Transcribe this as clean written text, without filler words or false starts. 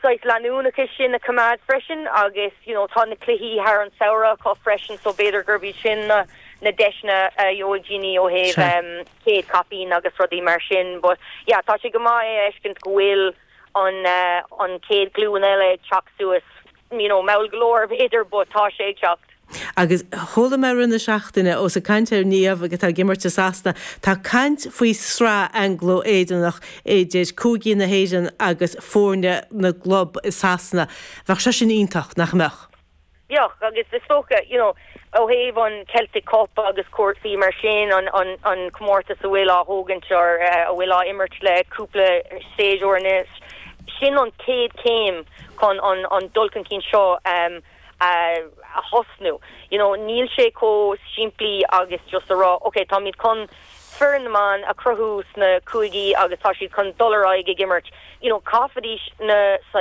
Saghas leanúnachas sin a choimeád freisin agus you know tá na cluichí thar an samhradh acu freisin so b'fhéidir gurb iad sin na na deiseanna a gheobhaidh daoine ó thaobh chéad caipín agus rudaí mar sin but yeah tá sé go maith é a fheiscint go bhfuil an an chéad ghlúin eile ag teacht suas you know mall go leor b'fhéidir but tá sé ag teacht. Agus chuala mé i rith na seachtaine, ós ag caint ar Niamh atá ag imirt i Sasana, tá caint faoi sraith Anglo-Éireannach idir cúigí na hÉireann agus foirne na gclub i Sasana. Bheadh sé sin iontach, nach mbeadh? Bheadh, agus is dócha, you know, ó thaobh an Celtic Cup agus cúrsaí mar sin, an, an, an comórtas a bhfuil á thógaint or a bhfuil á imirt le cúpla séasúr anois, sin an chéad chéim chun an, an dul chun cinn seo a thosnú. You know, níl sé chomh simplí agus just a rá, ok, táimid chun foireann na mban a chruthú sna cúigí agus tá siad chun dul ar aghaidh ag imirt. You know, caithfidís na saghas.